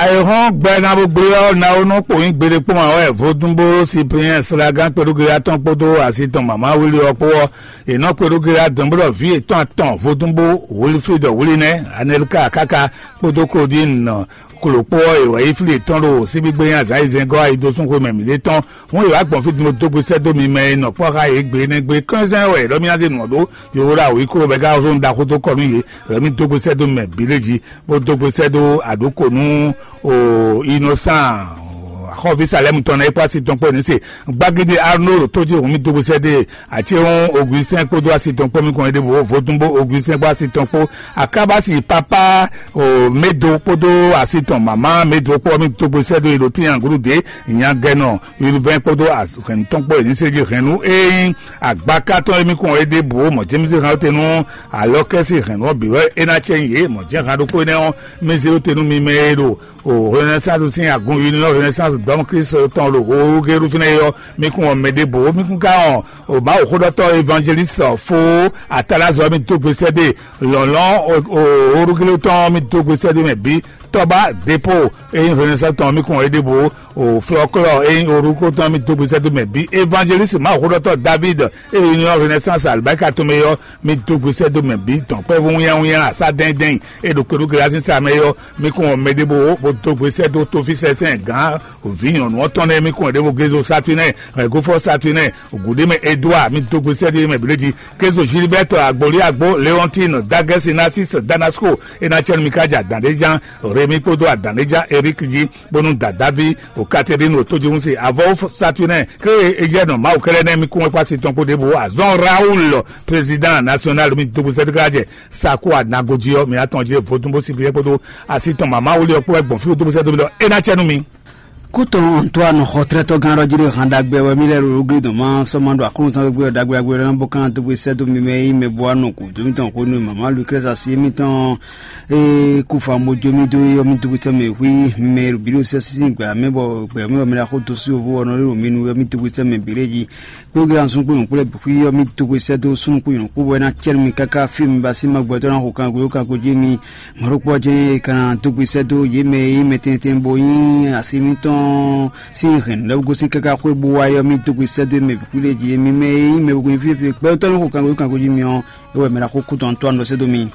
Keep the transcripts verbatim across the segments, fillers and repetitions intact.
Ayǐhɔ́n gbɛ ná bó gblé ɔ́, ná ó nɔ kpowun gbeɖé kpɔ́n ǎ wɛ vodúnbó Cyprien Slagán kpeɖúgbe atɔn kpódó asi tɔn mama wíli ɔ́ kpó ɔ́, è nɔ kpeɖúgbe adɔn bó ɖɔ vǐ yětɔn atɔn vodúnbó Wilfrid Wilinɛ, Anelka káká kpódó Claudine Klokpó ɔ́, è wǎ yi flí yětɔn ɖo síbígbé nyi azǎn e zɛngɔ́ ayi dó sún xwe mɛ mǐɖée tɔn. Hɔn è wǎ gbɔn fí din bó dó gbe sɛ́ dó mi mɛ e nɔ kpɔ́ xá yě gbe énɛ́ gbe kɔ́nzɛ́n wɛ ɖɔ mì ná zé nǔ ɔ́ ɖó, yo wó ɖo awǐ kó bɔ é ka zɔ́n ɖaxó dó kɔ nú yě, wɛ mì dó gbe sɛ́ dó mɛ bǐ lé jí, bó dó gbe sɛ́ dó aɖǒko nú o Innocent, xɔví Salɛ́mu tɔn ná é kpó asi tɔn kpó ní se. Gbagidi Arnaud tó jí hǔn mì dó gbe sɛ́ dó e, Acéhún Augustin kpódó asi tɔn kpó mì kɔn é ɖěbǔ, Vodúnbó Augustin kpó asi tɔn kpó, Akábasi papa o Médo kpódó asi tɔn mama Médo kpó mì dó gbe sɛ́ dó e ɖo tín aglǔ dě, nyagɛnɔ Urbain kpódó hɛ̌nnu tɔn kpó e ní se jí hɛ̌nnu e nyí agbaka tɔn e mì kɔn é ɖěbǔ, mɔ̌ jɛ́n mì se hɛn ɔ́ te nú alɔkɛ́si hɛ̌nnu ɔ́ bǐ wɛ é ná cɛ nyi yě, mɔ̌ jɛ́n hɛn ɖokpó énɛ́ ɔ́, mì zé ɖó te nú mi mɛ e ɖo o Renaissance sín agun Union Renaissance Dɔm Kristo tɔn ɖo Hoogeru fínɛ́ é ɔ́, mi kún wɔn mɛ ɖěbǔ, mi kún ka wɔn o Mawuxóɖɔtɔ́ Evangeliste fó Atalázɔ mi dó gbe sɛ́ dó e lɔ̌nlɔ́n o Hoogeru tɔn mi dó gbe sɛ́ dó mɛ bǐ, Tɔba Depo e nyí Renaissance tɔn mi kún wɔn é ɖěbǔ, o Flɔklɔ e nyí Hoogeru tɔn mi dó gbe sɛ́ dó mɛ bǐ, Evangeliste Mawuxóɖɔtɔ́ David e nyí Union Renaissance alibáka tɔn mɛ ɔ́, mi dó gbe sɛ́ dó mɛ bǐ dɔn kpɛ́vú wínnyáwínnyá asá dɛ́ndɛ́n e ɖo kpeɖú Gelazi sa mɛ é ɔ́, mi kún wɔn mɛ ɖěbǔ bó dó gbe sɛ́ dó tófísɛsɛn gǎn vǐ nyɔ̌nu ɔ́ tɔn nɛ́, mi kún wɔn ɖěbǔ Gézo Satúnɛ, Gofɔ Satúnɛ, Gǔɖémɛ Edouard, mi dó gbe sɛ́ dó mɛ blé jí, Gézo Gilbert, Agboli Agbo, Léontine, Dagɛsi Narcisse, Danasko, e ná cɛ́nú mi ká jɛ adǎn ɖé ján, Rémi kpódó adǎn ɖé ján Eric jí, bónú dadaví o Catherine o tójúhún se avɔwó Satúnɛ, Kré Ejɛ́nɔ Mawu kɛlɛ nɛ́ mi kún wɛ kpó asi tɔn kpó ɖěbǔ, azɔn Raoul, président national mi dó gbe sɛ́ dó ká jɛ Saku anago jí ɔ́, mi atɔn jí vodún bó si byɔ́ kpódó asi tɔn mama wuli ɔ́ kpó wɛ gbɔn fí dó bó sɛ́ dó mi ɖɔ é ná cɛ nú mi. Kútɔn Antoine xɔtrɛtɔ́gán ɖɔ jí ɖo han ɖagbe wɛ mí lɛ́ ɖo gli dɔn má sɔ́ má ɖo aklúnɔzán gbé ɔ́ ɖagbe ɖagbe lɛ́ nɔ bó kán dó bó sɛ́ dó mi mɛ yí mɛ bó wá nɔ gǔdo mítɔn xó nú mama Lucrèce asi émítɔn e kú fa mo jó mí dó é ɔ́ mí dó bó sɛ́ mɛ hwí mɛ ɖo bǐ ɖo sɛ́ sín gbǎ mɛ bɔ gbɛ̌ mɛ bɔ mɛ ɖo axó dó sú yovo ɔ́ nɔ ɖo mí nu é ɔ́ mí dó bó sɛ́ mɛ bǐ ɖé jí. Kpégbé anzúgbó nyɔ̌kú lɛ́ɛ bǐ xwí ɔ́, mì dó gbe sɛ́ dó súnnu kpó nyɔ̌kú bɔ é ná cɛ́ nú mi káká fí mi ba sín ma gbɛtɔ́ ná xo kango kango jí mi. Mɔ̌ ɖokpó ɔ́ jɛ́n è ka ná dó gbe sɛ́ dó yě mɛ e nyí mɛ tɛnmɛ tɛnmɛ bó nyí asi mǐtɔn sín hɛ̌nnu lɛ́ɛ gosín káká xwé bó wá é ɔ́, mì dó gbe sɛ́ dó mɛ bǐ xwí lɛ́ɛ jí. Mi mɛ e nyí mɛ wegún fífí gbɛtɔ́ ní xo kango kango jí mi ɔ́, é wɛ mɛ ná xo kú tɔn tó anɔ sɛ́ dó mi.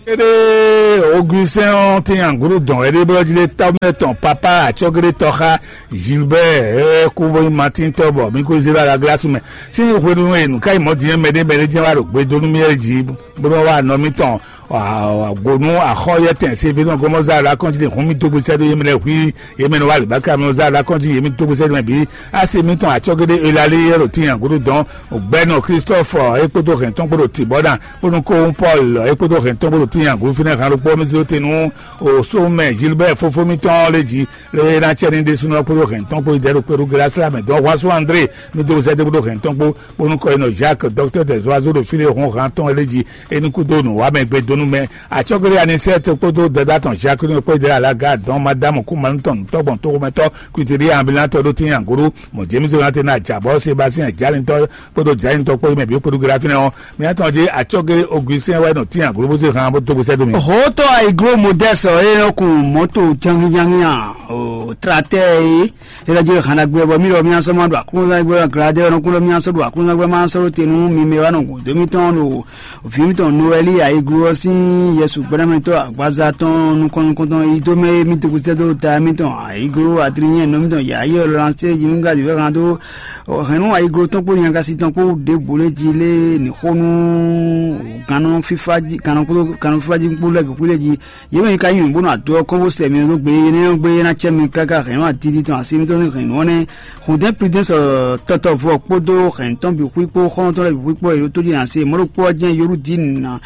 Éɖée Augustin ɔ́ tín aglǔ dɔn wɛ ɖé bɔ jí ɖé tɔ́mɛ tɔn papa acɔ́géɖé tɔxá Gilbert ɛ kú bó nyí Martin tɔ́ bɔ mí kó zé ɖo alaglású mɛ. Sín hwenu e nǔ ká yi mɔ̌ din ɔ́, mɛɖé mɛɖé jɛ́n wá ɖo gbe dó nú mì é jí bó nɔ wá nɔ mítɔn gǒnú axɔ́yɛ́tɛn Sevedɔn gɔmɔza ɖo akɔ́njí ɖe hǔn mì dó gbe sɛ́ ɖó yě mɛ lɛ́ɛ hwí, yě mɛ nɔ wá lǐbáká mɛ nɔ zá ɖo akɔ́njí yě mì dó gbe sɛ́ ɖó mɛ bǐ. Asi mítɔn acɔ́géɖé Elalé yɛ ɖo tín aglǔ dɔn gbɛnɔ Christophe é kpódó hɛn tɔn kpó ɖo tǐ bɔ ná kpónú kóhún Paul é kpódó hɛn tɔn kpó ɖo tín aglǔ fínɛ́ han ɖokpó mì zé tɛn nú o sómɛ Gilbert fófó mítɔn lé jí lé ná cɛ ní ɖésúnɔ kpódó hɛn tɔn kpó yi dɛ̌ ɖo kpéɖu Glasla mɛ dɔn Huasu André mí dó sɛ́ dó kpódó hɛn tɔn kpó kpónú kɔ yi nɔ Jacques docteur des oiseaux ɖo fí lé hɔn han tɔn lé jí é ní kúdó nǔ wá mɛ gbé dó nú mɛ acɔ́géɖé Anisɛ́t kpódó dɛ̌dá tɔn Jacques ní kpó yi dɛ̌ alaga dɔn Madame Kúmanú tɔn nǔtɔ́gbɔn tóxómɛtɔ́ kwitiri ambulant ɖó tín aglǔ mɔ James Jonathan Ajabɔ Sébastien Jalintɔ kpódó Jalintɔ kpó yi mɛ bǐ kpódó Gérard fínɛ́ ɔ́, mía tɔn jí acɔ́gé Augustin wɛ nɔ tín aglóbósé han bó dó gbèsè dó mi. Hǒtɔ ayiglo Modeste ɔ́, é nɔ kun mɔ̌to jangíjangí a, o tratɛ é, é lɔ jí hana gbé bɔ mí lɔ mía sɔ́ ma ɖo akúnzán gbé gladé ɔ́ nɔ kún lɔ mía sɔ́ ɖo akúnzán gbé ma sɔ́ ɖó te nú mi mɛ wá nɔ gǔdo mítɔn ɖo vǐ mítɔn Noɛli ayiglo ɔ́ sín Yɛsu gbɛ́nɛmɛtɔ́ agbaza tɔn nukɔn nukɔntɔn yi dó mɛ é mí dó gbèsè dó ta mítɔn ayiglo adrinyɛn nɔ mítɔn yǎyí ɔ́ lɔ lansé yi nú gladé fɛ han dó Hɛ̌nnu ayiglo tɔn kpó nyagasi tɔn kpó ɖěbǔ lɛ́ɛ jí lé ní xó nú gannɔ fífá jí gannɔ kpódó gannɔ fífá jí kpó lɛ́ɛ bǐ xwí lɛ́ɛ jí. Yě mɛ nyí ka nyí nǔgbónú adó ɔ́ kɔn bó sɛ mi ɖó gbe énɛ́ ɔ́ gbé é ná cɛ mi káká hɛ̌nnu adidi tɔn asi mitɔn sín hɛ̌nnu ɔ́ nɛ́. Hǔndɛ́n Pridɛ́nsɔ tɔtɔvɔ kpódó hɛ̌nnu tɔn bǐ xwí kpó xɔ́ntɔn lɛ́ɛ bǐ xwí kpó è ɖó tó jí ná se mɔ̌ ɖokpó ɔ́ jɛ́n Yoludín ná.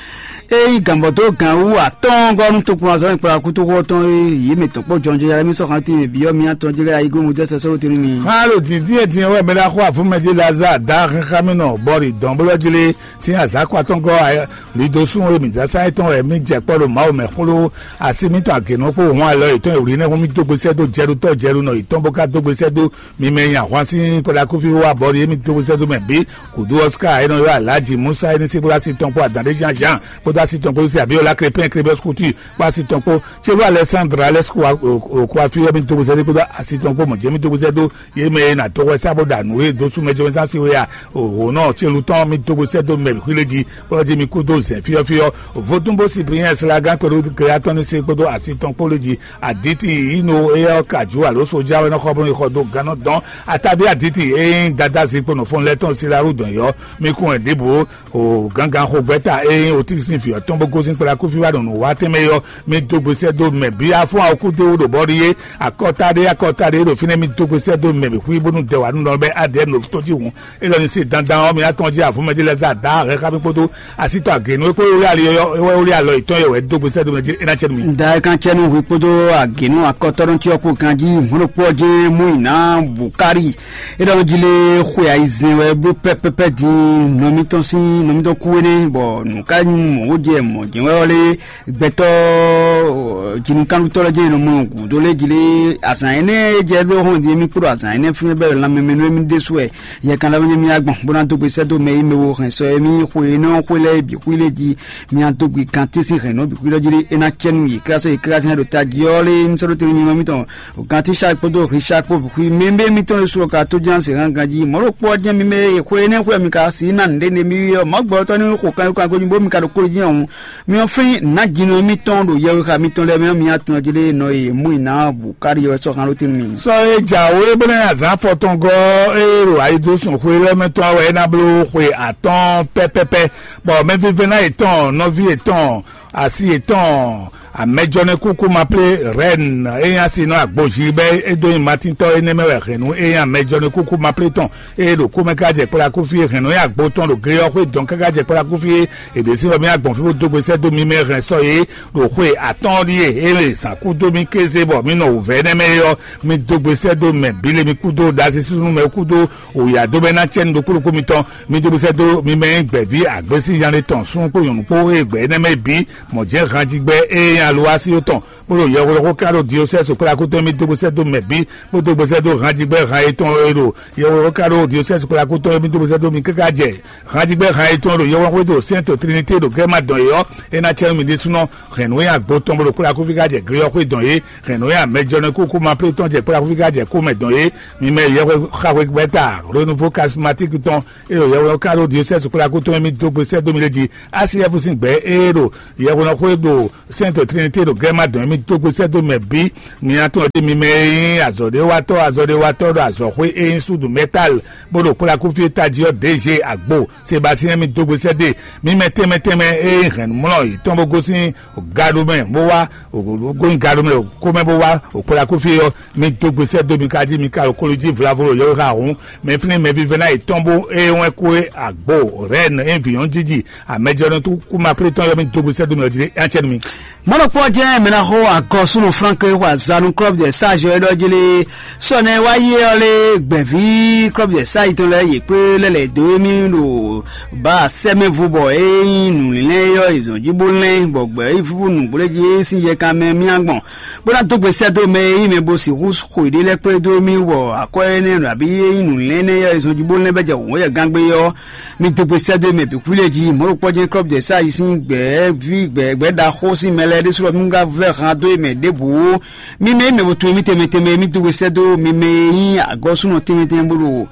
Ényí gǎnbɔ́ dó gǎn wú atɔ́ɔ́ngɔ́ nú tokpɔnzɔ́ e kplá kútóxó ɔ́ tɔn é, yě mɛ tɔn kpó jɔnjɔnjɔ lɛ́ɛ mì sɔ́ xantín mɛ bǐ ɔ́, mi atɔn jlɛ́ ayiglo Mɔjɛ́sɛ sɔ́ tɛnú mi. Xá ɖo dǐndín e din ɔ́ wɛ mɛ ɖaxó avǔmɛ jí Lazaa dá xixámɛnɔ bɔ ɖi dɔn bó lɔ́ jlé sín azǎn kɔ atɔ́ngɔ́ lidosún e mǐ dá sá é tɔn wɛ mì jɛ kpɔ́ ɖo Mawu mɛ xló así mǐtɔn agěnɔ kpó hɔn alɔ yětɔn e wlǐ nɛ́ hún mì dó gbe sɛ́ dó jɛɖutɔ́ jɛɖunɔ yětɔn bó ka dó gbe sɛ́ dó mi mɛ nyi ahwan sín kpɔɖakúfí wá bɔ ɖi émí dó gbe sɛ́ dó mɛ bǐ. Kǔdú Ɔsika e nɔ ylɔ́ Alhaji Musa e ní sí kplá así tɔn kpó adǎn ɖé Jean Jean kpódó así tɔn Gosé Abiola Crépin Crébus Couture kpó asi tɔn kpó Chelú Alexandre Alex Kouafiyɔ mi dó gbèsè dó kpódó asi tɔn kpó mɔ̌ jẹ́ mi dó gbèsè dó yé mɛ e nà dó hwɛ sá bó ɖa nǔ e dó sú mɛ jɔmɛ sán si wé a òhò náà Chelú tɔn mi dó gbèsè dó mɛ xwílé jí kpɔ́ jí mi kú dó zɛ̌n fíɔ́fíɔ́. Vodúnbó Cyprien Slágán kpódó Gléatɔ́nísé kpódó asi tɔn kpó lé jí Aditi Ino eyɔ Kaju alo Soja wɛ nɔ xɔ bó nɔ yi xɔ dó gannɔ dɔn Atabi Aditi e nyí Dada Zikpo nɔ fɔn lɛ tɔn Silaru dɔn yɔ mi kún wɛ ɖěbǔ o gángan xo gbɛta e nyí Otísín vǐ ɔ́ tɔn bó gosín kplá kúfí wá ɖo nǔ wa tɛnmɛ yɔ mi dó gbesɛ dó mɛ bí afɔ́n awokúdéwú ɖo bɔ́ ɖi é akɔta ɖé akɔta ɖé ɖo fínɛ́ mi dó gbesɛ dó mɛ bǐ xwí bónú dɛ wǎ nú nɔ bɛ adɛɛ nɔ tó jí hǔn. Élɔ́ ní se dandan ɔ́, mi ná tɔn jí avɔ̌ mɛ ɖé lɛ́ɛ zá dǎ hɛn xá mì kpódó asítɔ agěnú e kpó wlí ali ɔ́, e wɛ wlí alɔ yětɔn yɛ wɛ dó gbesɛ dó mɛ jí é ná cɛ nú mi. Da e kan cɛ nú hwi kpódó agěnú akɔtɔ́ɖɔn tí ɔ́ kpo kan jí hɔn ɖokpó ɔ́ jɛ́n mú yi ná Bukari. É ɖɔ jí lé xwe ayizɛ́n wɛ bló pɛ́pɛ́pɛ́ din nɔ mitɔn sín nɔ mitɔn kú énɛ́, bɔ nǔ ká nyí mɔ̌ jɛ mɔ̌ jɛ́n wɛ ɔ́ lé gbɛtɔ́ jinukánutɔ́ lɛ́ɛ jɛ́n nɔ mɔ gǔdo lé jí lé azǎn énɛ́ e jɛ dó hɔn din émí kpódó azǎn énɛ́ fún bɛ́ lanmɛ mɛ nú émí ɖésú wɛ. Yɛ kan lɛ́ nyí mía gbɔn bó ná dó gbe sɛ́ dó mɛ e mɛ wo hɛn sɔ e mì xwe énɛ́ ɔ́ xwé lɛ́ɛ bǐ xwí lé jí mía dó gbe kan tɛ́nsin hɛn nǔ bǐ xwí lɔ jí lé é ná cɛ nú yě káká sɔ́ yě káká sín ɖo tají ɔ́ lé mí sɔ́ ɖó te nú nyɔ́ mítɔn. Gantisa kpódó Risa kpó xwí mɛ bɛ mitɔn ɖo su ɔ́ ka tó ján se hán ganjí mɔ̌ ɖo kpɔ́ jɛ́n mi mɛ e xwe énɛ́ xwe mi ka sí ná nǔɖé ne mi ɔ́ mɔ̌ gbɔtɔ́ ní xo kankankan bó mi ka ɖo kóli jɛ́n ɔ́. Mi ɔ́ flín nǎjínɔ mitɔn ɖo yɛwéxa mitɔn lɛ́ɛ mɛ mi atɔn jí lé nɔ e mú i ná bǔ káɖi ɔ́ sɔ́ hán ɖó tɛ́nú mi. Sɔ e jǎwe bó ná azǎn afɔtɔngɔ́ e ɖo ayidosùn xwe lɛ́ɛ mɛ tɔn wɛ é ná bló xwe atɔ́ɔ́n pɛ́pɛ́pɛ́, bɔ mɛvívɛ́ná yětɔn, nɔví yětɔn, asi yětɔn, amɛjɔnɛkúkú ma plé Rɛn e nyí asi nɔ agbojí bɛ́ é dó nyi Matíntɔ́ énɛ́ mɛ wɛ hɛ̌nnu e nyí amɛjɔnɛkúkú ma plé tɔn e ɖo kúmɛ ká jɛ kplá kúfí e hɛ̌nnu e agbo tɔn ɖo glé ɔ́ xwé dɔn káká jɛ kplá kúfí e è ɖě sí bɔ mì agbɔ̌n fí bó dó gbe sɛ́ dó mi mɛ hɛn sɔ yě ɖo xwe atɔ́ɔ́n ɖíe é lě zǎn kú dó mì kéze bɔ mì nɔ wǔvɛ́ énɛ́ mɛ é ɔ́, mi dó gbe sɛ́ dó mɛ bǐ le mi kúdó ɖasísúnú mɛ kúdó wǔyá dó bɛ́ ná cɛ́ nú ɖokpó ɖokpó mitɔn. Mi dó gbe sɛ́ dó mi mɛ e nyí gbɛ̌ví agbésíyanlé tɔn súnnu kpó nyɔ̌nu kpó e gbɛ̌ énɛ́ mɛ bǐ mɔ̌ jɛ́n han jí gbɛ́ e nyí alowásí tɔn bó ɖo yɛhweɖɔxó ká ɖo diosɛ́si kplakútɔn mì dó gbe sɛ́ dó mɛ bǐ bó dó gbe sɛ́ dó han jí gbɛ́ han yětɔn e ɖo yɛhweɖɔxó ká ɖo diosɛ́si kplakútɔn mì dó gbe sɛ́ dó mi káká jɛ han jí gbɛ́ han yětɔn ɖo yɛhweɖɔxó e ɖo Sɛ́nto Trinité ɖo Gɛ́ma dɔn yě ɔ́, é ná cɛ nú mi ɖésúnɔ hɛ̌nnu e agbo tɔn bó ɖo kplakúfí ká jɛ glé ɔ́ xwé dɔn yě, hɛ̌nnu e amɛjɔnɔ e kúkú ma plé tɔn jɛ kplakúfí ká jɛ kúmɛ dɔn yě. Mi mɛ yɛhweɖɔxó gbɛ́ta Renouveau Charismatique tɔn e ɖo yɛhweɖɔxó ká ɖo diosɛ́si kplakútɔn mì dó gbe sɛ́ dó mi ɖé jí. A C F sín gbɛ̌ e ɖo yɛhweɖɔxó e ɖo Sɛ́nto Trinité ɖo Gɛ́ma dɔn mì dó gbe sɛ́ dó mɛ bǐ. Mi ná tɔn ɖe mi mɛ e nyí azɔ̌ɖéwatɔ́ azɔ̌ɖéwatɔ́ ɖo azɔ̌xwé e nyí súdu mɛtál bó ɖo kplakúfí e tají ɔ́ ɖěje agbo Sebasiyɛn mi dó gbe sɛ́ dó e. Mi mɛ tɛnmɛ tɛnmɛ e nyí hɛ̌nnumlɔ yětɔn bó gosín gado mɛ bó wá gosín gado mɛ kó mɛ bó wá kplakúfí ɔ́, mi dó gbe sɛ́ dó mi ka jí mi ka ɖo kolo jí vlavo ɖo yɔ́xá hǔn. Mɛ flín mɛ vívɛ́ná yětɔn bó e wɛn kó e agbo Rɛn e vǐ nyɔ́ jiji amɛjɔnɔ tó kú ma plé tɔn yɔ mi dó gbe sɛ́ dó mi ɔ́ jí é ná cɛ nú mi. Mɔ̌ ɖokpó ɔ́ jɛ́n mɛ ná xo agɔsúnɔ Flánke xo azǎn nú Klɔ́bu de Sáazi ɔ́ é ɖɔ jí lé sɔ́ nɛ́ wá yi ɔ́ lé gbɛ̌ví Klɔ́bu de Sáazi tɔn lɛ́ɛ yě kplé lɛ́ lɛ̌ dó émí ɖo bǎ sɛ́mɛ́vu bɔ é nyí nǔlínlɛ́n é ɔ́ è zɔn jí bó lɛ́n bɔ gbɛ̌ yi fúfú nǔgbléjí é sín yɛ kan mɛ mì agbɔn bó ná dó gbe sɛ́ dó mɛ e nyí mɛ bó sixú xo yěɖée lɛ́ɛ kplé dó émí wɔ akwɛ́ énɛ́ ɖo abǐ é nyí nǔlínlɛ́n énɛ́ é ɔ́ è zɔn jí bó lɛ́n bɔ é jɛ wǔ yɛ gángbé ɔ́. Mi dó gbe sɛ́ dó mɛ bǐ xwílé jí mɔ̌ ɖokpɔ́ jɛ́n Klɔ́bu de Sáazi sín gbɛ̌ví gbɛ̌ gbɛ̌ ɖaxó sín mɛ lɛ́ɛ ɖésú ɔ́ mì ka vɛ́ han dó mɛ ɖěbǔ. Mi mɛ e mɛ bo tunwun émí tɛnmɛ tɛnmɛ mi dó gbe sɛ́ dó mi mɛ e nyí agɔ́súnɔ tɛnmɛ tɛnmɛ bó ɖo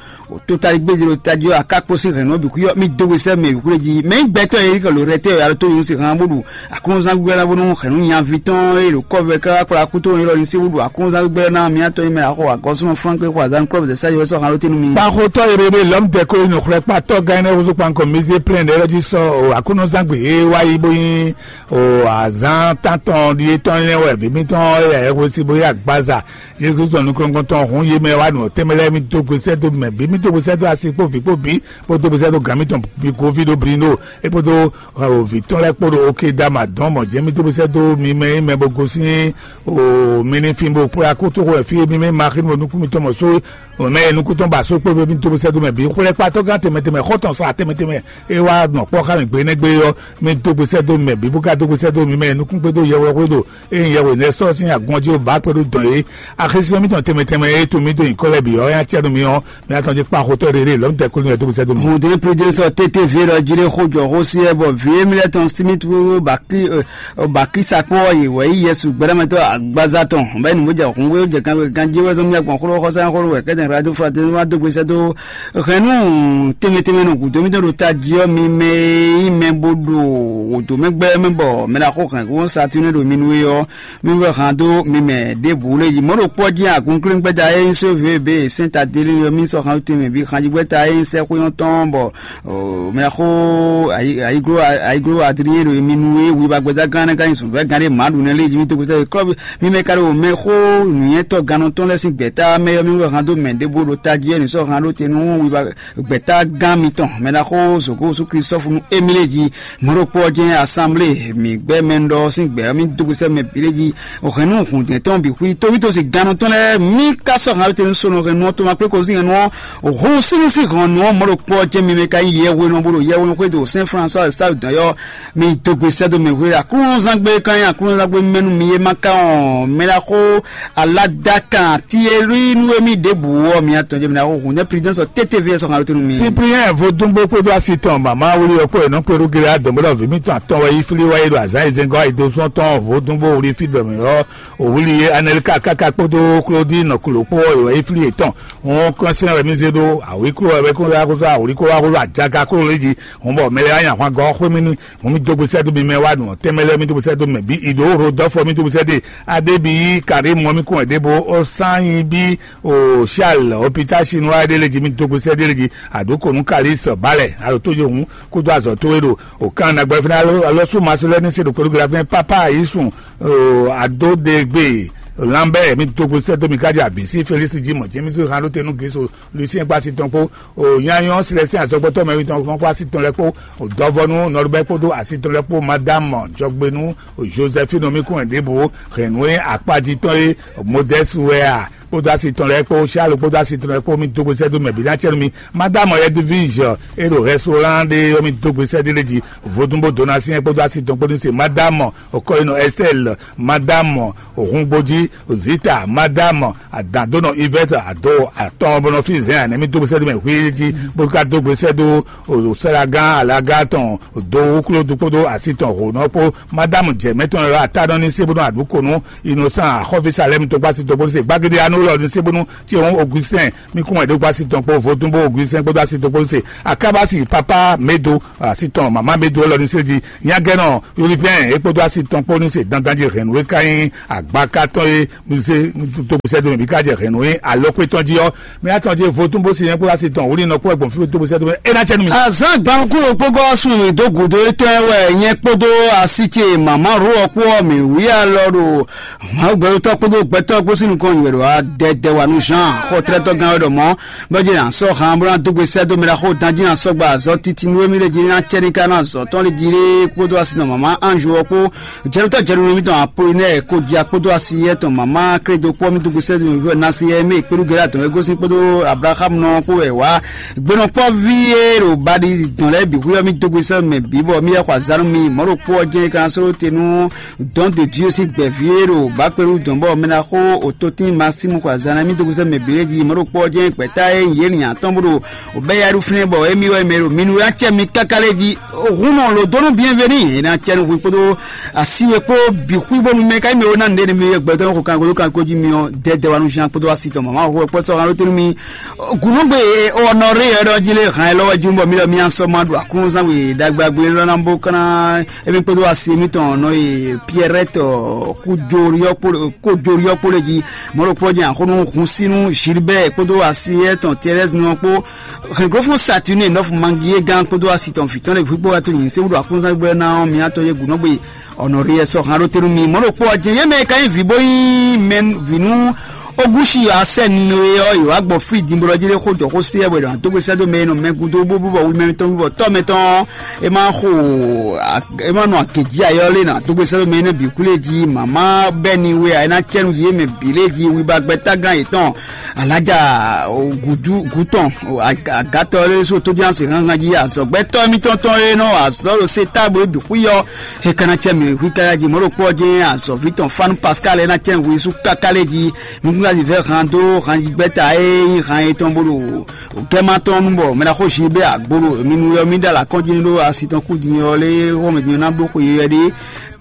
totaligbé ɖo tají ɔ́ akákpo sín hɛ̌nnu ɔ́ bǐ xwí ɔ́ mi dó gbe sɛ́ mɛ bǐ xwílé jí. Mɛ nyí gbɛtɔ́ e ká lo rɛtɛ́ alo tó nyɔ̌nu sín han bó ɖu aklúnɔzán gbígbɛ́ ná bónú hɛ̌nnu nyaví tɔn e ɖo kɔ́vɛ káká kplá kútó nyɔ́ ní sí wúɖu aklúnɔzán gbígbɛ́ ná mǐtɔn e mɛ ná xɔ agɔ̌súnɔ Flánke xɔ azǎn Klɔ́bu de Sáazi wɛ sɔ́ han ɖó tɛ́ nú mi. Kpaxotɔ́ e ɖe lɔ̌m tɛ kó nɔ xlɛ́ kpatɔ́ gán énɛ́ húzú kpankɔ mizé plɛ́n ɖɛ́ lɛ́ jí sɔ́ o aklúnɔzán gbe e wá yi bó nyí o azǎn tántɔn ɖíe tɔn énɛ́ wɛ vǐ mítɔn e yɛ hwesí bó yí agbaza Jezu Kristu nukɔn tɔn hun yé mɛ wá nɔ tɛnmɛ lɛ́ɛ mi dó gbe sɛ́ dó mɛ bǐ mi dó gbe sɛ́ dó asi kpó vǐ kpó bǐ bó dó gbe sɛ́ dó gǎn mitɔn bǐ goví ɖó bli ɖó é kpódó vǐ tɔn lɛ́ɛ kpó ɖo oke dama dɔn mɔ jɛ́n mi dó gbe sɛ́ dó mi mɛ yi mɛ bó gosín o mi ní fin bó kplá kótó xo wɛ fí mi mɛ ma xínú nukún mitɔn mɔ só mɛ yi nukún tɔn ba só kpó mi dó gbe sɛ́ dó mɛ bǐ xwlɛ́kpatɔ́ gán tɛnmɛ tɛnmɛ xɔ́tɔn sa tɛnmɛ tɛnmɛ é wá nɔ kpɔ́ xá mi gbe nɛ́ gbe ɔ́ mi dó gbe sɛ́ dó mɛ bǐ bó ka dó gbe sɛ́ dó mi mɛ yi nukún Gbédó yɛwɛ xwédo eye yɛwɛ nɛsɔ sín agbɔnjí ó bá kpɛɖú dɔn é. Axésinyɔ mítɔn tɛnmɛ tɛnmɛ e tun mì dó nyǐkɔ lɛ́ɛ bǐ ɔ́, é ná cɛ nú mi ɔ́, mi ná tɔn jí kpa xotɔ́ ɖé ɖé lɔ̌mítɛ kúnú yɛ dó sɛ́ dó mi. Hǔndɛ́n Prudence ɔ́, T T V ɖɔ jí ɖé xó jɔ xó sí wɛ, bɔ vǐ émí lɛ́ɛ tɔn Smith wéwé Bakri, ɔ, Bakri sakpɔ́ ɔ́, yě wɛ yí Yɛsu gbɛɖɔ́mɛtɔ́ agbaza tɔn. Bɔ é nǔ bó jɛ hǔn wé, ó jɛ kan ganjí wɛ zɔ́n mì agbɔn xló xɔsá xló wɛ kɛ́tɛn radio fraternité wá dó gbe sɛ́ dó hɛn nú tɛnmɛ tɛnmɛ nɔ gǔdo mítɔn ɖo tají ɔ́, mi mɛ e nyí mɛ bó ɖo wǒdó mɛ gbɛ́ mɛ, bɔ mɛ ɖo axó hɛn kó Saturne ɖo mi nú é ɔ́, mi wɛ hǎn dó mi mɛ ɖěbǔ lé yi. Mɔ̌ ɖokpó ɔ́ jí agunklín gbɛ́ta e nyí sóvé be sɛ́n tadelí ɔ́, mi sɔ́ hǎn tɛnmɛ bǐ hanjigbɛ́ta e nyí sɛ́xwé ɔ́ tɔn, bɔ mɛ xó ayiglo ayiglo adrien ɖo mi nú é, wiba gbɛ́ta gán nɛ́ ka nyí zɔ̌nvɛ́gán ɖé mǎ ɖu nɛ́ lé yi. Mi dó gbɛ́ta klɔ́ mi mɛ ka ɖo mɛ xó nǔnywɛ́tɔ́ gannɔ tɔn lɛ́ɛ sín gbɛ̌ta mɛ ɔ́, mi wɛ hǎn dó mɛ ɖěbǔ ɖo tají ɔ́, nǔ sɔ́ hǎn ɖó te nú wiba gbɛ̌ta gán mitɔn, mɛ ɖaxó Zogo Yusú Klistɔ́fu nú Emilée jí. Mɔ̌ ɖokpó ɔ́ jɛ́n asanblée mǐ gbɛ́ mɛ ɖɔ sín gbɛ̌ ɔ́, mì dó gbe sɛ́ mɛ bǐ ɖé jí. Hɛ̌nnu hǔndɛ́n tɔn bǐ xwí tóbítɔ́ sin gannɔ tɔn lɛ́ɛ, mì ka sɔ́ hǎn tɛn nú sónɔ hɛ̌nnu ɔ́, to ma kplé ko sín hɛ̌nnu ɔ́, hǔn sín nú sín hɔn nǔ ɔ́, mɔ̌ ɖokpó ɔ́ jɛ́n mi mɛ ka nyí yɛhwenɔ bó ɖo yɛhwenɔ xwé ɖo Sɛn Flannzɔ́ Sáwudɔn ɔ́, mi dó gbe sɛ́ dó mɛ hwe. Aklúnɔzán gbé ka nyí aklúnɔzán gbé mɛnu mi é ma ka ɔn, mɛ ɖaxó Aladakan Tielui nú émí ɖěbǔ ɔ́, mi atɔn jɛ mi ná xo hǔn nɛ́ Prudence ɔ́ tétévé ɔ́ sɔ́ hǎn ɖó tɛ́ nú mi. Cyprien vodúngbó kpódó asi tɔn mama wuli ɔ́ kpó e nɔ kpé ɖó Gilead dɔ̌nbɔ́ɖɔ́ vǐ mítɔn atɔn wɛ yi flí wá yi ɖo azǎn e zɛngɔ́ ayi dó zɔ́n tɔn vodúngbó wuli fí dɔ̌mɛ ɔ́, òwúli e Anɛlika káká kpódó Klódi nɔkulo kpó ɔ́, è wɛ yi flí yětɔn. Wọn kɔn sɛn wɛ mi zé ɖó awǐ klo wɛ bɛ kó wá kó sɔ́ awǐ kó wá kó ajaga kó lé jí. Hɔn bɔ mɛ lɛ́ɛ wá nyi ahwangɔ́ xwé mì nú hɔn mì dó gbèsè dó mi mɛ wá nǔ tɛmɛ lɛ́ɛ mì dó gbèsè dó mɛ bí ìdó Rodolfo mì dó gbèsè dé adébíyí Karim mɔ mì kún wɛ débó ó sán nyi bí o Charles hôpital chinois ɖé lé jí mì dó gbèsè dé lé jí àdókònú Kalis balẹ̀ alo tó yé hùn kó dó azɔ tó é ɖo o kan nagbɛ fúnɛ alo alo sú masu lɛ́ ní se ɖo kpɛlú gla fúnɛ papa yìí sùn o adódegbe Lambert mì dó gbèsè dó mi kájí àbísí Félix jí mọ̀ jẹ́mísí hàn ló tẹnu gèsò Lucien kpó asi tɔn kpó, o nyanyɔ Célestin azɔgbɔtɔ mɛwi tɔn kpó asi tɔn lɛ kpó, o dɔvɔnu Nɔlubɛ kpódó asi tɔn lɛ kpó, madame Jɔgbenu, o Josephine Omikun Ɛdebo, Renue akpaji tɔn e Modeste wɛ a kpódó asi tɔn lɛ kpó, Charles kpódó asi tɔn lɛ kpó, mi dó gbèsè dó mɛ bi ná cɛnu mi, madame Edwige e ɖo restaurant ɖe ɔ́ mi dó gbèsè dé lé jí, vodúnbó Donatien kpódó asi tɔn kpó ní se, madame Okɔyinɔ Estelle, madame Ohungboji, Zita, madame Adadonɔ Yvette, ado atɔn bɔnɔ fi zɛn anɛ mi dó gbèsè dó mɛ hwíjí bó ka dó gbèsè dó o sɛlagán alaga tɔn do wúkúlódú kpódó asi tɔn hǒnɔ kpó, madame jɛmɛ tɔn lɔ atánɔ ní se bónú àdúkònú, innocent axɔ́ví salɛm tó gbásí tó gbónú se gbàgede anú lɔ ní se bónú tí òun Augustin mi kún wɛ dó gbásí tɔn kpó vodúnbó Augustin kpódó asi tó gbónú se, akabasi papa medo asi tɔn mama medo lɔ ní se di nyagɛnɔ Yolipɛn é kpódó asi tɔn kpó ní se dandan jí hɛn nú é ká nyí agbaka tɔn é mi se tó gbèsè dó mɛ bí ká jɛ hɛn nú é alɔkpé tɔn jí ɔ́, mi atɔn jí vodún bó se nyɛ kpó asi tɔn wòlí nɔ kpó ẹgbọn fí tó gbèsè dó mɛ é ná cɛ nú mi. Azán gbankúrò kpógɔ sùn mì dó gǔdo étɔn wɛ nyɛ kpódó asi ce mama ro ɔkpó ɔ mì wí alɔ ɖo Mawu gbɛtɔ́ kpódó gbɛtɔ́ kpó sín nukɔn nyi wɛ ɖo adɛdɛ wa nú Jean xɔtlɛ́tɔ́ gán wɛ ɖɔ mɔ̌ bɔ jí na sɔ́ han bó ná dó gbe sɛ́ dó mɛ ɖaxó dan jí na sɔ́ gba azɔ̌ titi nú émí lé jí ná cɛ ní ká ná azɔ̌ tɔn lé jí lé kpódó asi nɔ mama Anju ɔ́ kpó jɛnutɔ́ jɛnunu émítɔn Apolinɛ́ɛ kó jí akpódó asi yɛ tɔn mama Klédo kpó mí dó gbe sɛ́ dó mɛ nasi yɛ mɛ kpéɖu gɛ́ atɔn é gosín kpódó Ablaham nɔ kpó wɛ wá gbenɔkpɔ́ví e ɖo baɖi dɔn lɛ́ɛ bǐ xwé ɔ́ mí dó gbe sɛ́ mɛ bǐ bɔ mí yɛ xɔ azǎn nú mi mɔ̌ ɖo kpó ɔ́ jɛ́n é ka ná sɔ́ ɖó te nú dɔn de Dieu sín gbɛ̌ví e ɖo bǎkpɛ́ɖu dɔn bɔ mɛ ná xó o to tín Masimu xɔ azǎn ná mì dó gosɛ́ mɛ bǐ lé jí mɔ̌ ɖo kpɔ́ jɛ́n gbɛ̌ta e nyí yě nyi atɔ́n bó ɖo o bɛ́ ya ɖu fínɛ́ bɔ émí wɛ mɛ ɖo mi nú yá cɛ mi káká lé jí hun nɔ lo dó nú bienveni è nǎ cɛ nú hwi kpódó asi we kpó bǐ xwí bónú mɛ ká nyí mɛ wo ná nǔɖé nú mi gbɛtɔ́ xo kan golo kan ko jí mi ɔ́ dɛdɛ wa nú Jean kpódó asi tɔn mama xo kpɔ́ sɔ́ kan ɖó te nú mi Gǔnúgbe ɔnɔrí ɛ ɖɔ jí lé hàn ɛ lɔwɛ jú bɔ mi lɔ mi asɔ ma ɖo akúnzán we ɖagbe agbe lɔ ná bó kán émi kpódó asi mitɔn nɔ e Pierrette kójórí ɔkpó lé jí mɔɖokpó jɛ axɔnú hun sínú Gilbert kpódó asi etɔn Thérèse nɔ kpó hɛnglófó Saturne nɔfu mangi é gán kpódó asi tɔn fǐtɔn lé hwígbó wá tó nyi sɛwúɖo akúnzán gbɛ ná mi atɔ yé Gǔnúgbe ɔnɔrí ɛ sɔ hàn ɖó tenu mi mɔɖokpó jɛ yé mɛ ka nyí vǐ bó nyí mɛ vǐnú Ogusi asɛnue ɔ́, yě wá gbɔ fí dinbɔlɔ jí ɖé xó jɔ xó sé wɛ ɖɔ dó gbe sɛ́ dó mɛ e nɔ mɛ gúdo bó bó bɔ wi mɛ tɔn bó bɔ tɔ́ mɛ tɔn. E ma xo e ma nɔ agějí ayɔ lé nɔ dó gbe sɛ́ dó mɛ énɛ́ bǐ kú lé jí mama bɛ́ni we a é ná cɛ́ nú yě mɛ bǐ lé jí wi ba gbɛ́ tágán yětɔn. Alájà gǔtɔn agátɔ lé só tójú àsè hánhán jí azɔ̌gbɛ́tɔ́ émítɔn tɔn e nɔ azɔ̌ ɖo sé táblo bǐ xwí ɔ́. He ka ná cɛ mì hwí káká jí mɔ̌ ɖokpó ɔ́ jɛ́n azɔ̌ví tɔn Fanu Pascal é ná cɛ hwi sú káká lé jí. Mi kún ná vɛ́ han dó hanjigbɛ́ta e nyí han etɔn bó ɖo gɛ́ma tɔn nu bɔ mɛ ná xó zi bɛ agbolo mi nu ɔ́ mi ɖo alakɔ́n jí ní ɖó asi tɔn kú din ɔ́ lé wɔmɛ din ɔ́ ná bló xwe yɛ ɖé.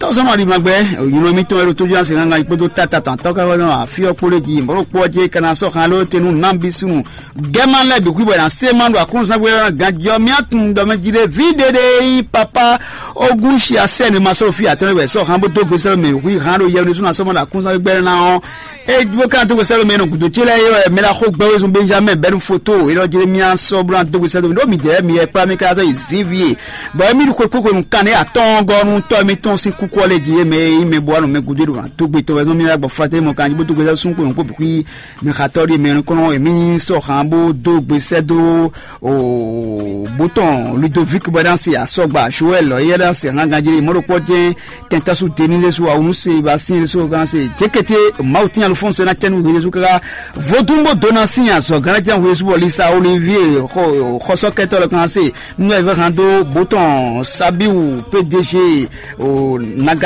Tɔ́sɔ́nɔ ɖi magbɛ nyɔ̌nu mitɔn e ɖo tójú asi hángan kpódó táta tɔn atɔ́ káká nɔ afí ɔ́ kpó lé jí mɔ̌ ɖokpó ɔ́ jɛ é ka ná sɔ́ han ló tenu nǎ bí súnnu gɛ́ma lɛ́ɛ bǐ xwíbɔ ná sé ma ɖo aklúnúzán gbé ɔ́ ganjí ɔ́ mía tunwun ɖɔ mɛ jí ɖé ví ɖé ɖé nyí papa. Ogún si asɛ́ ne ma sɔ́ fí atɔ́ wɛ sɔ́ han bó dó gbe sɛ́ mɛ hui han ɖo yɛ ɖésú ná sɔ́ mɔ ɖo aklúnúzán gbé ná ɔ́. É bó ka dó gbe sɛ́ mɛ nɔ gǔdo ce lɛ́ɛ é wɛ mɛ ná xó gbɛ́ wezun Benjamin bɛ́nu foto é ɖɔ jí mía sɔ́ bó ná dó gbe sɛ́ mɛ ɖó mǐdɛɛ mì yɛ kplá mì ká sɔ́ yi zǐn ví e bɔ émí ɖo xwekpéxwe nǔkan nɛ́ atɔ́ɔ́ngɔ́ nú tɔ́ émítɔn sín kúkú ɔ́ lɛ́ɛ jí é mɛ e nyí mɛ bó wá nɔ mɛ gúdo é ɖo ná dó gbe tɔn wɛ zɔ́n mì ná gbɔ flatɛ́ mɔ kan jí bó dó gbe sɛ́ súnxwe nǔkpó bǐ xwí. Mɛ xatɔ́ ɖíe mɛ nukɔn ɔ́, mǐ sɔ́ han bó dó gbe sɛ́ dó bó tɔn Ludovic bɔ é ná se asɔgba Joël lɔ éyɛ́ ná se hángan jí mɔ̌ ɖokpɔ́ jɛ́n kɛntasu Denis ɖésú awunu se ba sín ɖésú gán se jékété Mawu tín alufɔ́nse ná cɛ́nú hwe ɖésú káká vodún bó dó ná sín azɔ̌ gán ná cɛ́nú hwe ɖésú bɔ Lisa Olivier xɔsɔ́kɛtɔ́ lɔ kan se nú ɛvɛ́ han dó bó tɔn Sabiu P D G o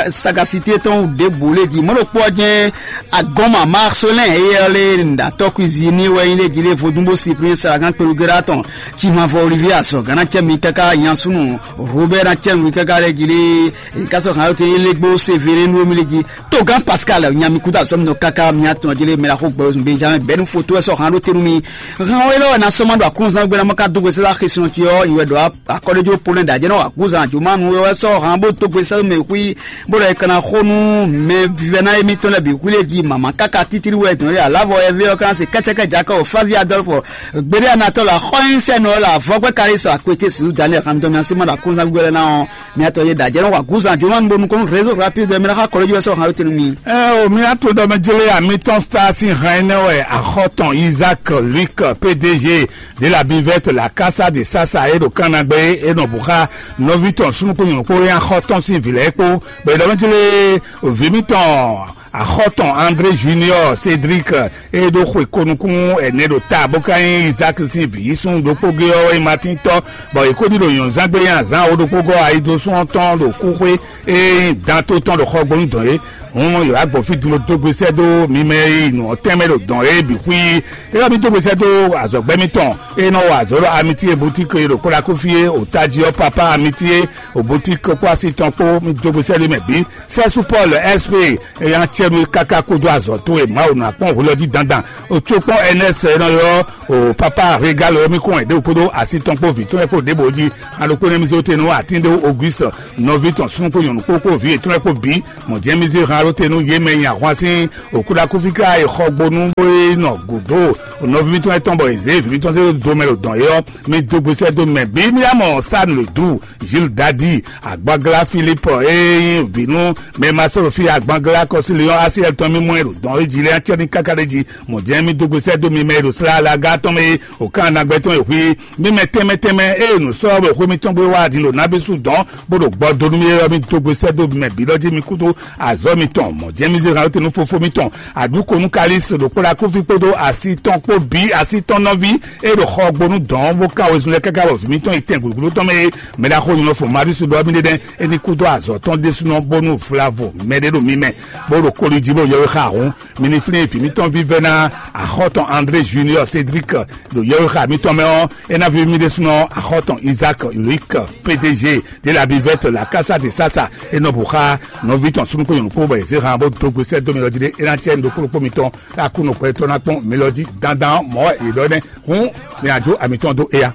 sagacité tɔn ɖěbǔ lé jí mɔ̌ ɖokpɔ́ jɛ́n Agɔnma Marcelin eyɛ́ lé ɖo atɔ́ cuisinier wɛ nyí lé jí lé vodún bó si premier salagan kpelugéla tɔn Jihanvɔ Olivier azɔ gana cɛ mi káká nyansúnú Robert na cɛ mi káká lé jí lé kasɔ hàn yóò tɛ yé lé gbó Sévérin nú mi lé jí togán Pascal nyami kúta azɔ mi nɔ káká mi atɔn jí lé mɛ la xó gbɛ Benjamin bɛnu foto wɛ sɔ hàn ɖó tenu mi hàn wɛ lɔ wɛ na sɔmɔ ɖo akúnzán gbé na mɔ ká dógbe sɛlá xesinɔ tí ɔ yi wɛ ɖɔ akɔɖéjó polɛ ɖajɛ nɔ akúzán jomanu wɛ sɔ hàn bó dógbe sɛlá mɛ xú bó ɖɔ è ka ná xo nú mɛ vívɛ́ná émítɔn lɛ́ɛ bǐ xwlé jí mama káká títí wɛ dɔn ɖé alavɔ ɛvɛ ɔ́ ka ná se kɛ́tɛ́kɛ́ jakɔ fáví adɔlfɔ gbeɖé anatɔ la xɔnyinsɛnɔ la vɔgbɛ kalisɔ akwete sisu daniel hamdɔmi asima la kúnzán gbígbɛ lɛ ná ɔ́ miatɔ yé dajɛ nɔ wa gúzán jomanu bó nukɔn réseau rapide mɛ ná xa kɔlɔjú wɛ sɔ hàn tenu mi. Ɛ o mi ato dɔ mɛ jele amitɔn star sin hɛn nɛ wɛ axɔtɔn isaac luc pdg de la bivɛt la kasa de sasa e ɖo kanagbe e nɔ bu xa nɔvi tɔn sunukun nyɔ̌kpo e axɔtɔn sin vǐ lɛ́ɛ kpó bɔ è ɖɔ mɛ jele vǐ mitɔn axɔtɔn André Junior Cédric e ɖo xwe ko nukún ɛnɛ ɖo ta bó ka nyí Isaac sín vǐ yísún ɖokpó gé ɔ́ wɛ nyí Matín tɔ́, bɔ è ko ɖi ɖo nyɔ̌nzángbe nyi azǎn wo ɖokpó gɔ́ ayidosún ɔ́ tɔn ɖo kúxwé e nyí danto tɔn ɖo xɔgbónu dɔn é. Hǔn yǒ wá gbɔ fí din bó dó gbe sɛ́ dó mi mɛ e yi nǔ ɔ́ tɛ́nmɛ ɖo dɔn é bǐ xwí. É wá mi dó gbe sɛ́ dó azɔ̌gbɛ́ mitɔn e nɔ wa azɔ̌ ɖo Amitié boutique e ɖo Kólákófí é, o tají ɔ́ Papa Amitié, o boutique kpó asi tɔn kpó mi dó gbe sɛ́ dó mɛ bǐ. Sɛ́sú Paul S P e nya cɛ nú káká kúdó azɔ̌ towe Mawu nɔ akpɔ́n hwelɔ́jí dandan. O tso kpɔ́n N S e nɔ ylɔ́ o Papa Regal ɔ́ mì kɔn ɛ̌ ɖo kúdó así tɔn kpó vǐ tɔn e kpo ɖěbǔ jí. Alokpó nɛ́ mì zé te nú atín ɖé Auguste nɔví tɔn súnnu kpó nyɔ̌nu kpó kpó vǐ yětɔn e kpo bǐ. Mɔ̌ jɛ́n mì zé han ɖó te nú yě mɛ nyi ahwan sín òkúɖakúfí ká e xɔ gbo nú bó e nɔ gǔdo nɔví mítɔn e tɔn bɔ è zě vǐ mítɔn zé dó mɛ ɖo dɔn é ɔ́, mì dó gbe sɛ́ dó mɛ bǐ. Mì yá mɔ Stan le Dou, Gilles Dadi, Agbaglá Philippe e nyí vǐ nú mɛ ma sɔ́ ɖo fí Agbaglá Kɔsíliɔ́n Asiɛl tɔn mì mɔ ɛ ɖo dɔn e jí lɛ́ɛ acɛ́ ní káká ɖé jí. Mɔ̌ jɛ́n mì dó gbe sɛ́ dó mi mɛ e ɖo slá alaga tɔn mɛ e òkán anagbɛ tɔn e hwí mì mɛ tɛnmɛ tɛnmɛ e nǔ sɔ́ wɛ xwé mítɔn gbé wá din ɖo nábísú dɔn bó ɖo gbɔ dó nú mì é ɔ́, mì dó gbe sɛ́ dó mi mɛ bǐ lɔ jí mi kúdó azɔ̌ mitɔn. Mɔ̌ jɛ́n mì zé han tɛn nú fofó mitɔn Aɖǔkonu Kalísi ɖo kpó ɖo akúfí kpódó asi tɔn kpó bǐ asi tɔn nɔví e ɖo xɔ gbo nú dɔ̌n bó ká wezun lɛ́ɛ káká bɔ vǐ mítɔn yi tɛn gǔdo tɔn mɛ e mɛ ɖaxó nyɔ́ fɔ Marisu ɖɔ mì ɖe nɛ́ é ní kúdó azɔ̌ tɔn ɖésúnɔ bónú vlavo mɛɖé ɖo mi mɛ bó ɖo koli jí bó yɔwé xa hǔn mi ní flín vǐ mítɔn vívɛ́ná axɔ́tɔn André Junior Cédric ɖo yɔwé xa mítɔn mɛ ɔ́ é ná ví mì ɖésúnɔ axɔ́tɔn Isaac Luc P D G de la bivette la kasa de sasa é nɔ bǔ xá nɔví tɔn súnnu kpó nyɔ̌nu kpó bɔ è zě han bó dó gbe sɛ́ dó mi lɔ jí ɖé é ná cɛ nǔ ɖokpó ɖokpó mitɔn ká kú nɔ gbɛtɔ́ ná kpɔ́n mi lɔ jí dandan ɔ́ mɔ̌ wɛ è ɖɔ nɛ́ hǔn mi ná jó ami tɔn dó éya.